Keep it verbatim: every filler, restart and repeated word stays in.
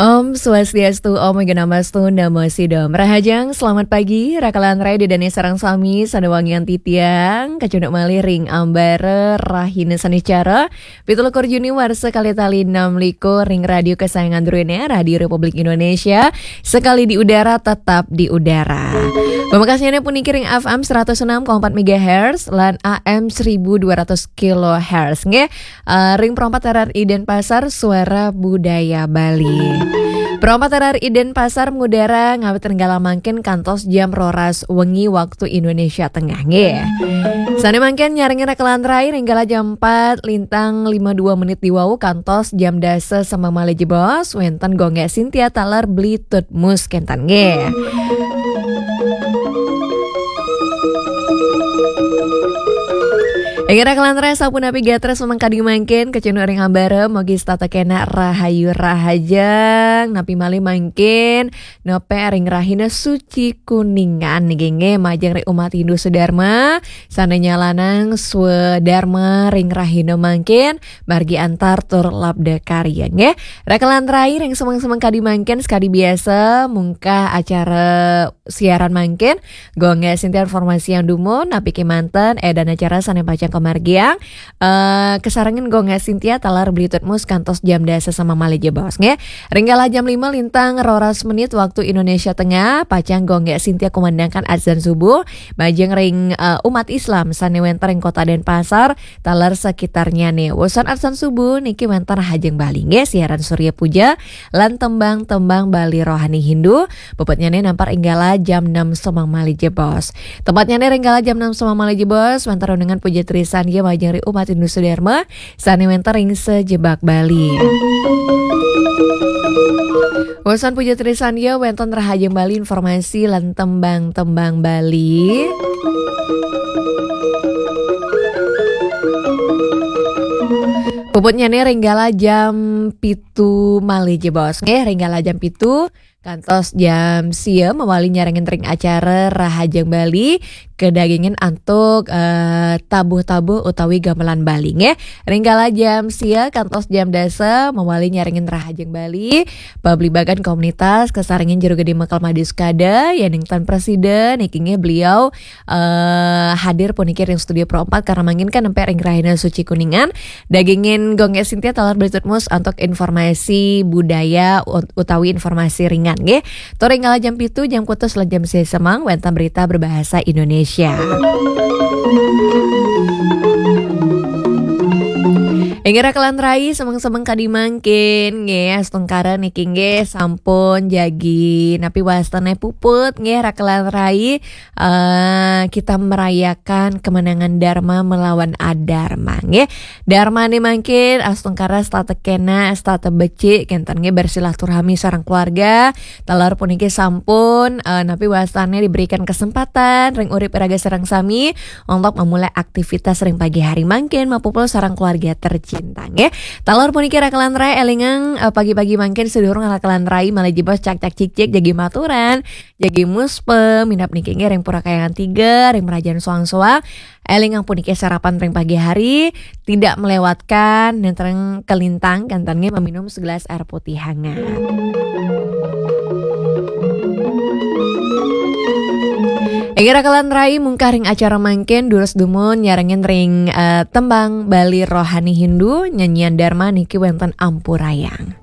Om Swastiastu, Om Awighnamastu, Namo Siddham. Rahajeng, selamat pagi. Rakalan rai ida dane sareng sami, sane wangian titiang, kacunduk malih ring ambara rahina Saniscara, pitu likur Juni warsa kalih tali enam likur ring radio kesayangan druene, Radio Republik Indonesia, sekali di udara, tetap di udara. Pamekasnyane puniki ring F M seratus enam koma empat megahertz lan A M seribu dua ratus kilohertz. Nggih, eh, ring Perempat Tarar Iden Pasar, Suara Budaya Bali. Perempat Tarar Iden Pasar mengudara ngawit ring galah mangkin kantos jam roras wengi waktu Indonesia Tengah, nggih. Sane mangkin nyarengin rakalan rai ring galah jam empat lintang lima dua menit diwau kantos jam dasa semeng malih jebos, wenten Gung Gek Sintia taler Bli Tutmus kenten, nggih. Inggih rakalan rai, sapunapi gatra semeng kadi mangkin, kacunduk ring ambara, mugi setata kenak rahayu rahajeng, napi malih mangkin, nepek ring rahina suci Kuningan niki, nggih, majeng ring umat Hindu Swadarma, sane nyalanang Swadarma ring rahina mangkin, margi antar tur labda karya, nggih. Rakalan rai, ring semeng-semeng kadi mangkin, sekadi biasa, mungkah acara siaran mangkin, Gung Gek Sintia informasi yang dumun, napi kemanten, eh, dan acara sane pacang kamargiang, eh, kasarengin Gung Gek Sintia taler Bli Tutmus kantos jam dasa semeng malih jebos, nggih. Ring galah jam lima lintang roras menit waktu Indonesia Tengah, pacang Gung Gek Sintia kumandangkan adzan subuh, majeng ring, eh, umat Islam sane wenten ring Kota Denpasar, taler sekitarnyane. Wusan adzan subuh niki wenten Rahajeng Bali, nggih, siaran Surya Puja, lan tembang-tembang Bali rohani Hindu, puputnyane nampar ring galah jam enam semeng malih jebos. Tepatnyane ring galah jam enam semeng malih jebos, wenten renungan puja trisan, nggih, majeng ring umat Hindu Swadarma, sane wenten ring sajebag Bali. Wusan puja trisan, nggih, wenten Rahajeng Bali, informasi lan tembang-tembang Bali. Puputnyane ring galah jam pitu malih jebos, nggih, ring galah jam pitu kantos jam sia mawali nyarengin ring acara Rahajeng Bali, kadagingin antuk, eh, tabuh-tabuh utawi gamelan Bali, nggih. Ring galah jam sia kantos jam dasa mawali nyarengin Rahajeng Bali, pabligbagan komunitas kasarengin Jero Gede Mekel Made Sukada, yening tan presiden, niki nggih beliau, eh, hadir puniki ring studio Pro empat karena mangkin kan nempe ring Rahina Suci Kuningan, dagingin Gung Gek Sintia taler Bli Tutmus antuk informasi budaya ut-, utawi informasi ringan, nggih. Tur ring galah jam pitu, jam kutus lan jam sia semeng, wenten berita berbahasa Indonesia. Inggih rakalan rai, semeng-semeng kadi mangkin, nggih, astungkara niki, nggih, sampun jagi napi wastane puput, nggih, rakalan rai, eh, kita merayakan kemenangan Dharma melawan Adharma, nggih. Dharmane mangkin astungkara setata kenak, setata becik, kenten, nggih, bersilaturahmi sareng keluarga. Taler puniki sampun, eh, napi wastane diberikan kesempatan ring urip iraga sareng sami untuk memulai aktivitas ring pagi hari mangkin mapupul sareng keluarga tercinta, nggih. Taler puniki rakalan rai, elingang, eh, pagi-pagi mangkin sadurung rakalan rai malih jebos cak-cak cik-cik jagi maturan, jagi muspa, minab niki nggih ring Pura Kahyangan Tiga, ring Merajan Soang-Soang. Elingang puniki sarapan ring pagi hari, tidak melewatkan nenten ring kalintang, kenten nggih, meminum segelas air putih hangat. Inggih rakalan rai, mungkah ring acara mangkin, durus dumun nyarengin ring, eh, tembang Bali rohani Hindu, nyanyian Dharma niki wenten Ampurayang.